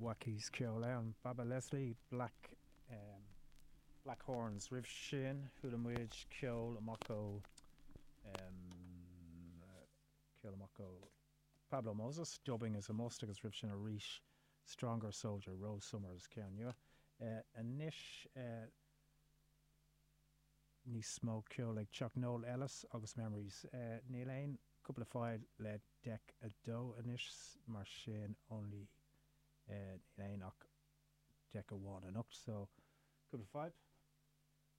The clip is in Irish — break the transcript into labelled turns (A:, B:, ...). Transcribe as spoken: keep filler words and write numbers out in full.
A: Wackies ceol ann. Baba Leslie Black um, Black Horns roimh sin chuala muid ceol amach ó um, ceol amach ó Pablo Moses, Dubbing is a must agus roimh sin arís Stronger Soldier Rose Summers ceann nua. Uh, anois uh, níos mó ceol ag Chuck Noel Ellis agus Memories. Uh, níl aon cúpla fáil le deck a dó anois mar sin only uh, níl aon ach deck amháin anocht so cúpla fadhb.